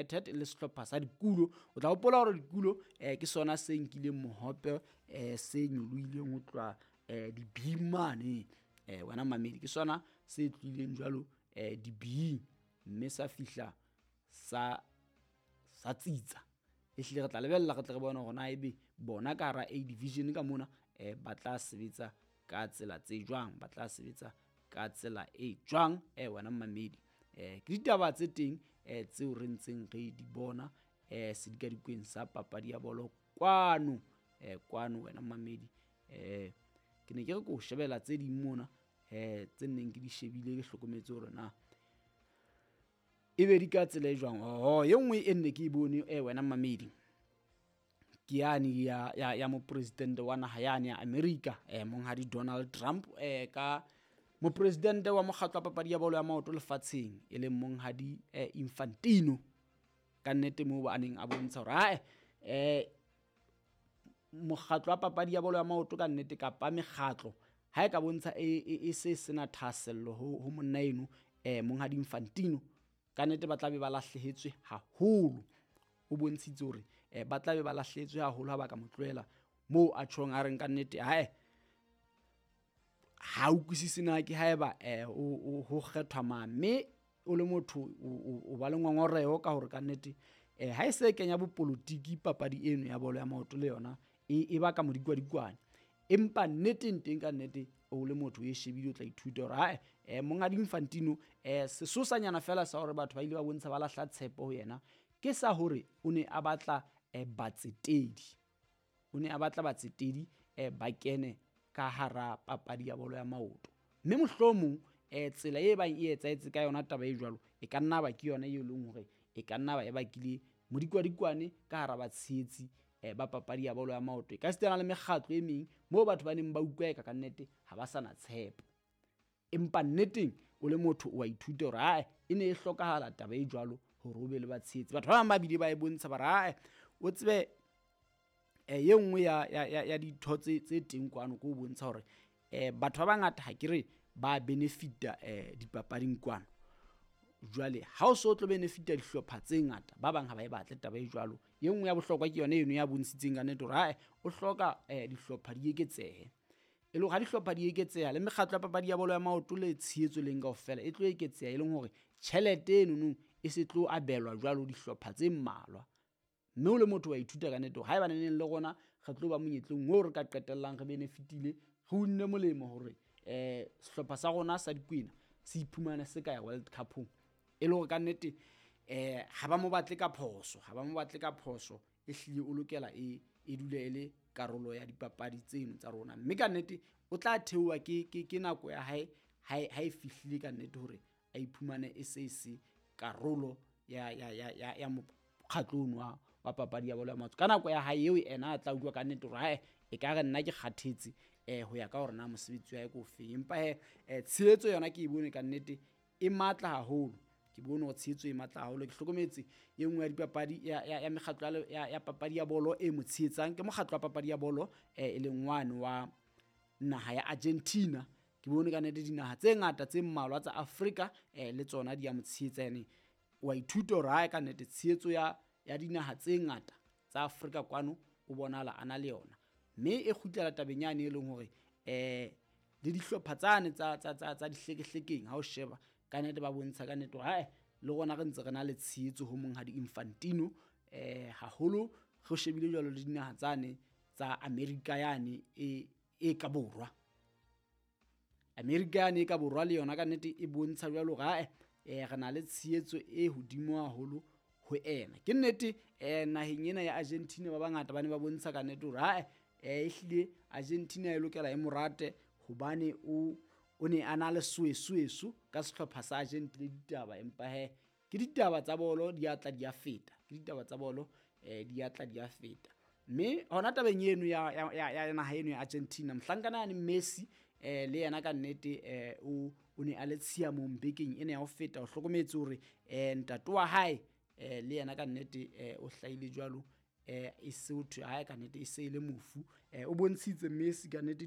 United le sehlopha sa Dikulo. O tla hopola hore Dikulo ke sona se nkileng mohope se nyolohileng ho tloha dibing mane. Wena mamedi, ke sona se tlohileng jwalo dibing mme sa fihla sa tsitsa. Ehlile re tla lebella re tle re bone hore na ebe bona ka hara A division ka mona ba tla sebetsa ka tsela tse jwang, ba tla sebetsa ka tsela e jwang wena mamedi. Ke ditaba tse teng tseo re ntseng re di bona sedikadikweng sa papadi ya bolo kwano kwano wena mamedi. Ke ne ke re ko shebela tse ding mona tse neng ke di shebile, ke hlokometse hore na ebe di ka tsela e jwang. Oho, e nngwe e nne ke e bone wena mamedi, ke yane ya mopresidente wa naha yane ya America monghadi Donald Trump ka mopresidente wa mokgatlo wa papadi ya bolo ya maoto lefatsheng e leng monghadi Infantino. Ka nnete moo a neng a bontsha hore ae mokgatlo wa papadi ya bolo ya maoto ka nnete kapa mekgatlo ha e ka bontsha e se sena thahasello ho monna eno monghadi Infantino, ka nnete ba tla be ba lahlehetswe haholo. O bontshitse hore ba tla be ba lahlehetswe haholo ha ba ka mo tlohela moo a tjhong a reng ka nnete hae ha utlwisise na ke haeba ho kgethwa mang. Mme o le motho o ba le ngongoreho ka hore ka nnete ha e se kenya bopolotiki papadi eno ya bolo ya maoto le yona e baka modikwadikwane. Empa nneteng teng ka nnete o le motho e shebile o tla ithuta hore hae monghadi Infantino sesosanyana fela sa hore batho ba ile ba bontsha ba lahla tshepo ho yena ke sa hore o ne a batla batsetedi. O ne a batla batsetedi ba kene ka hara papadi ya bolo ya maoto. Mme mohlomong tsela e bang e etsahetse ka yona taba e jwalo e ka nna ba ke yona e leng hore e ka nna ba e bakile modikwadikwane ka hara batshehetsi ba papadi ya bolo ya maoto. E ka sitana le mekgatlo e meng moo batho ba neng ba utlwa eka ka nnete ha ba sa na tshepo. Empa nneteng o le motho o a ithuta hore ae e ne e hlokahala taba e jwalo hore o be le batshehetsi. Batho ba bang ba bile ba e bontsha ba re ae o tsebe e nngwe ya ditho tse teng kwano ke ho bontsha hore batho ba bangata ha ke re ba benefita dipapading kwano. Jwale ha o so tlo benefita dihlopha tse ngata, ba bang ha ba e batle taba e jwalo. E nngwe ya bohlokwa ke yona eno ya bontshitseng ka nnete hore ae o hloka dihlopha di eketsehe. E le hore ha dihlopha di eketseha le mekgatlo ya papadi ya bolo ya maoto le tshehetso leng kaofela e tlo eketseha, e leng hore tjhelete enono e se tlo abelwa jwalo dihlopha tse mmalwa. Mme o le motho wa ithuta ka nnete hore haeba neneng le rona re tlo ba monyetleng oo re ka qetellang re benefitile, re unne molemo hore sehlopha sa rona sa Dikwena se iphumane se ka ya World Cup-ong. E le hore ka nnete ha ba mo batle ka phoso, ha ba mo batle ka phoso, ehlile o lokela e dule e le karolo ya dipapadi tseno tsa rona. Mme ka nnete o tla theoha ke nako ya hae ha e fihlile ka nnete hore a iphumane e se se karolo ya mokgatlo ono wa papadi ya bolo ya maoto. Ka nako ya hae eo ena a tla utlwa ka nnete hore hae e ka re nna ke kgathetse ho ya ka hore na mosebetsi wa hae ke ofeng. Empa he tshehetso yona ke e bone ka nnete e matla haholo. Ke bone hore tshehetso e matla haholo. Ke hlokometse e nngwe ya dipapadi ya mekgatlo ya papadi ya bolo e mo tshehetsang ke mokgatlo wa papadi ya bolo e leng wane wa naha ya Argentina. Ke bone ka nnete dinaha tse ngata tse mmalwa tsa Afrika le tsona di a mo tshehetsa. Ene wa ithuta hore hae ka nnete tshehetso ya dinaha tse ngata tsa Afrika kwano o bonahala a na le yona. Mme e kgutlela tabeng yane e leng hore le dihlopha tsane tsa dihlekehlekeng ha o sheba ka nnete ba bontsha ka nnete hore hae le rona re ntse re na le tshehetso ho monghadi Infantino haholo re shebile jwalo le dinaha tsane tsa Amerika yane e ka borwa. Amerika yane e ka borwa le yona ka nnete e bontsha jwalo hore hae re na le tshehetso e hodimo haholo ho ena. Ke nnete naheng ena ya Argentina ba bangata ba ne ba bontsha ka nnete hore hae ehlile Argentina e lokela e morate hobane o ne a na le soesoeso ka sehlopha sa Argentina ditaba. Empa he ke ditaba tsa bolo di a tla di a feta, ke ditaba tsa bolo di a tla di a feta. Mme hona tabeng eno ya naha eno ya Argentina, mohlankana yane Messi le yena ka nnete o ne a le tshiamong bekeng ena ya ho feta. O hlokometse hore ntate wa hae le yena ka nnete o hlahile jwalo e se ho thwe hae ka nnete e se e le mofu. O bontshitse Messi ka nnete.